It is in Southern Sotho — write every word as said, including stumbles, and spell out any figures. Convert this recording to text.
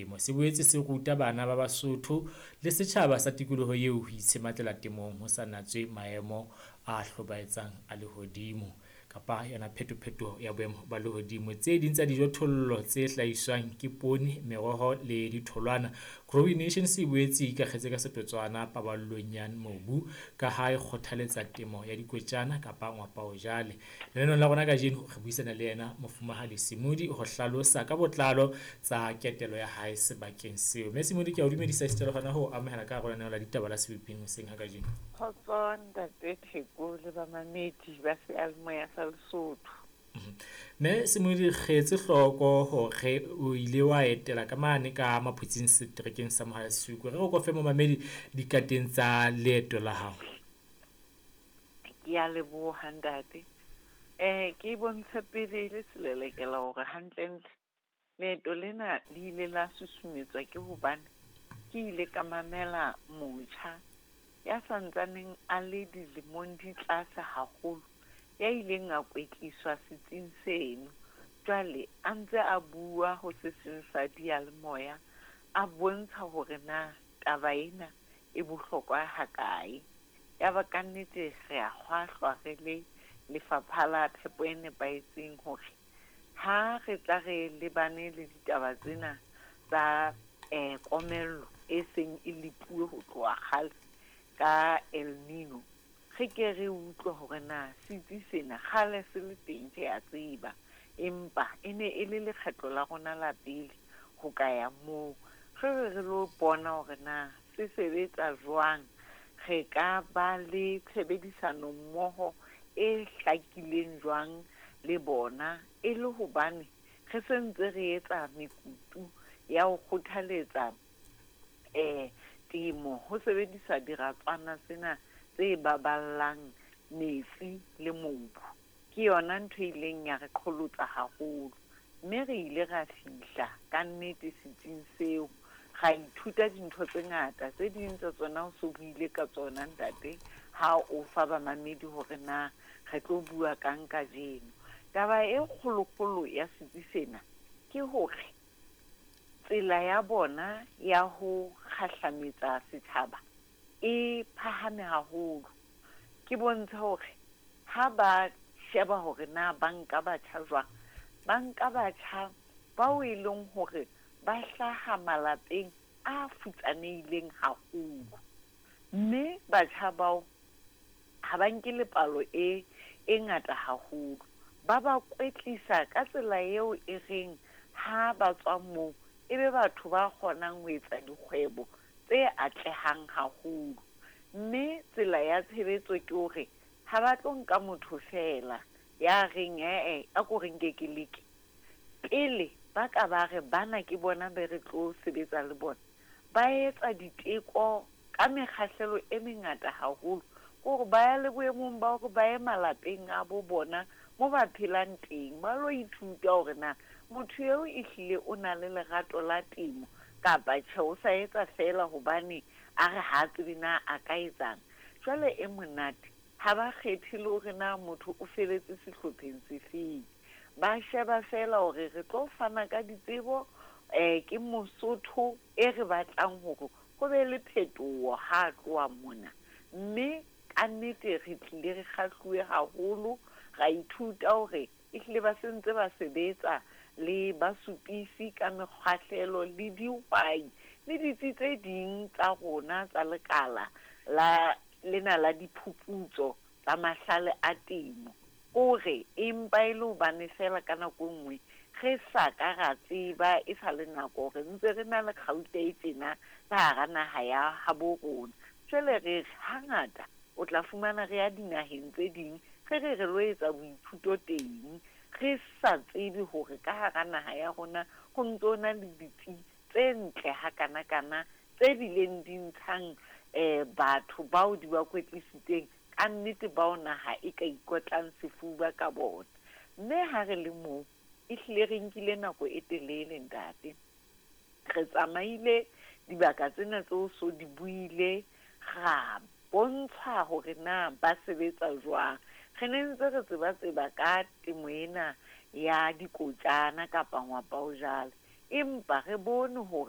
temo. Se boetse se ruta bana ba Basotho le setjhaba sa tikoloho eo ho itshematlela temong ho sa natswe maemo a hlobaetsang a lehodimo kapa yona phetophetoho ya boemo ba lehodimo. Tse ding tsa dijothollo tse hlahiswang ke poone, meroho le ditholwana. Growing Nations e boetse e ikakgetse ka setotswana paballong ya mobu ka ha e kgothaletsa temo ya dikotjana kapa ngwapa-o-jale. Lenaneong la rona kajeno re buisana le yena Mofumahadi Semodi ho hlalosa ka botlalo tsa ketelo ya hae sebakeng seo. Mme Semodi, ke a o dumedisa esita le hona ho amohela ka hara lenaneo la ditaba la Sebopeng hoseng ha kajeno. Kgotso ntate Theko le bamamedi ba seyalemoya sa Lesotho. Mme Semodi, re etse hloko hore o ile wa etela ka mane ka Maphutsing seterekeng sa Mohale'Sukwe. Re re ko fe momamedi dikateng tsa leeto la hao. Ke a leboha ntate. Eh ke bontshe pele le selelekela hore hantlentle leeto lena le ile la susumetswa ke hobane ke ile ka mamela motjha ya santsaneng a le dilemong di tlase haholo, ya ileng a kwetliswa setsing seno. Jwale a ntse a bua ho se seng sa diyalemoya, a bontsha hore na taba ena e bohlokwa hakae. Ya ba kannete re a kgwahlwa re le lefapha la phepo e nepahetseng hore ha re tla re lebane le ditaba tsena tsa eh komello e seng e lepuwe ho tloha kgale ka El Nino, re ke re utlwe hore na setsi sena kgale se le teng, re a tseba, empa e ne e le lekgetlo la rona la pele ho ka ya moo. Re re re lo bona hore na se sebetsa jwang, re ka ba le tshebedisano mmoho e hlakileng jwang le bona, e le hobane re sentse re etsa mekutu ya ho kgothaletsa eh temo ho sebedisa diratswana tsena tse baballang metsi le mobu. Ke yona ntho e ileng ya re qholotsa haholo, mme re ile ra fihla ka nnete setsing seo, ra ithuta dintho tse ngata. Tse ding tsa tsona o so buile ka tsona ntate ha o fa bamamedi hore na re tlo bua kang kajeno. Taba e kgolokgolo ya setsi sena ke hore tsela ya bona ya ho kgahlametsa setjhaba e phahame haholo. Ke bontsha hore ha ba sheba hore na ba nka batjha jwang, ba nka batjha bao e leng hore ba hlaha malapeng a futsanehileng haholo, mme batjha bao ha ba nke le palo e e ngata haholo. Ba ba kwetlisa ka tsela eo e reng ha ba tswa moo e be batho ba kgonang ho etsa dikgwebo tse atlehang haholo. Mme tsela ya tshebetso ke hore ha ba tlo nka motho feela ya reng ee a ko re nke ke leke. Pele ba ka ba re bana ke bona be re tlo sebetsa le bona, ba etsa diteko ka mekgahlelo e mengata haholo, hore ba ya le boemong ba hore ba ye malapeng a bo bona mo ba phelang teng, ba lo ithuta hore na motho eo ehlile o na le lerato la temo kapa tjhe, o sa etsa feela hobane a re ha tsebe na a ka etsang. Jwale e monate ha ba kgethe le hore na motho o feletse sehlopheng sefeng, ba sheba feela hore re tlo fana ka ditsebo eh ke Mosotho e re batlang hore ho be le phetoho ha tloha mona. Mme kannete re tlile re kgahluwe haholo, ra ithuta hore ehlile ba sentse ba sebetsa le basupisi ka mekgahlelo le dihwai le ditsi tse ding tsa rona tsa lekala la lena la diphuputso tsa mahlale a temo. Hore empa e le hobane feela ka nako e nngwe re sa ka ra tseba e sa le nako hore ntse re na le kgauta e tjena ka hara naha ya habo rona. Jwale re re hangata o tla fumana re ya dinaheng tse ding re re re lo etsa boithuto teng, re sa tsebe hore ka hara naha ya rona ho ntso na le ditsi tse ntle hakanakana tse bileng di ntshang eh batho bao di ba kwetlisitseng ka nnete bao naha e ka ikotlang sefuba ka bona. Mme ha re le moo ehlile re nkile nako e telele ntate, re tsamaile dibaka tsena tseo so di buile, ra bontsha hore na ba sebetsa jwang. Re ne ntse re tseba tseba ka temo ena ya dikotjana kapa ngwapa o jala, empa re bone hore